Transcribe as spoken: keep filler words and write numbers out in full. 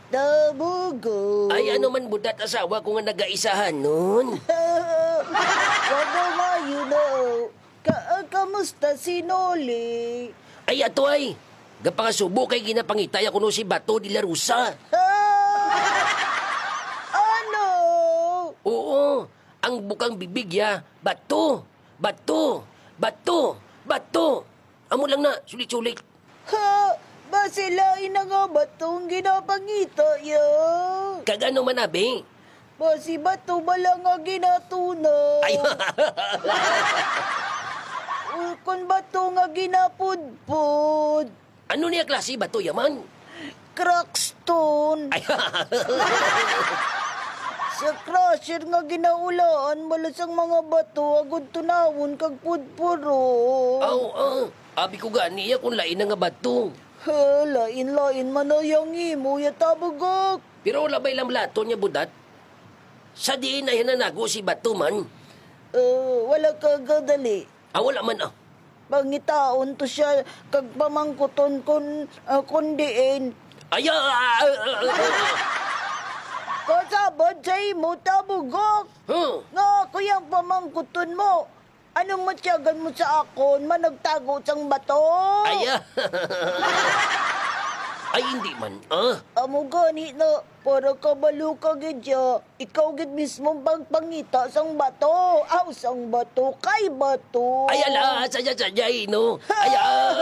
Tabugo. Ay, ano man budat asawa ko nga nagaisahanon? Wala nga, you know. Ka, ah, kamusta si Noli? Ay, ato ay. Gapangasubo kay ginapangita ya kuno si Bato de la Rosa. Ah! Ano? Oo, ang bukang bibig ya, Bato, Bato, Bato, Bato. Amo lang na, sulit-sulit. Ha? Basi lain na nga Bato ang ginapangita ya? Kag ano man, abi? Basi Bato bala nga ginatuna. Ay. Ukon Bato nga ginapudpod. Ano niya klase Bato ya man? Crackstone. Ay. Sa crusher nga ginaulaan bala sang mga bato agud tunawon kag pudpuro. Aw, ah, abi ko gani ya kung lain na nga Bato. Ha, lain-lain man na yang imo ya, Tabugok. Pero wala ba'y lamlaton niya budat? Sa diin ay nananago si Bato man? Ah, wala ka gadali. Ah, wala man, ah. Pangitaon to siya kag pamangkuton kun, ah, kun diin. Ay, ah, ah, ah, ah, ah. Kasabad sa imo, Tabugok. Huh? Nga ako yang pamangkuton mo. Anong matyagan mo sa akon, managtago sang bato? Ay, ah. Ay, hindi man, ah. Amo gani na, para kabalo ka gid ya, ikaw gid mismo ang pagpangita sang bato. Aw, sang bato, kay bato. Ay, ala, sadya, sadya, eh, no? Ay, ah.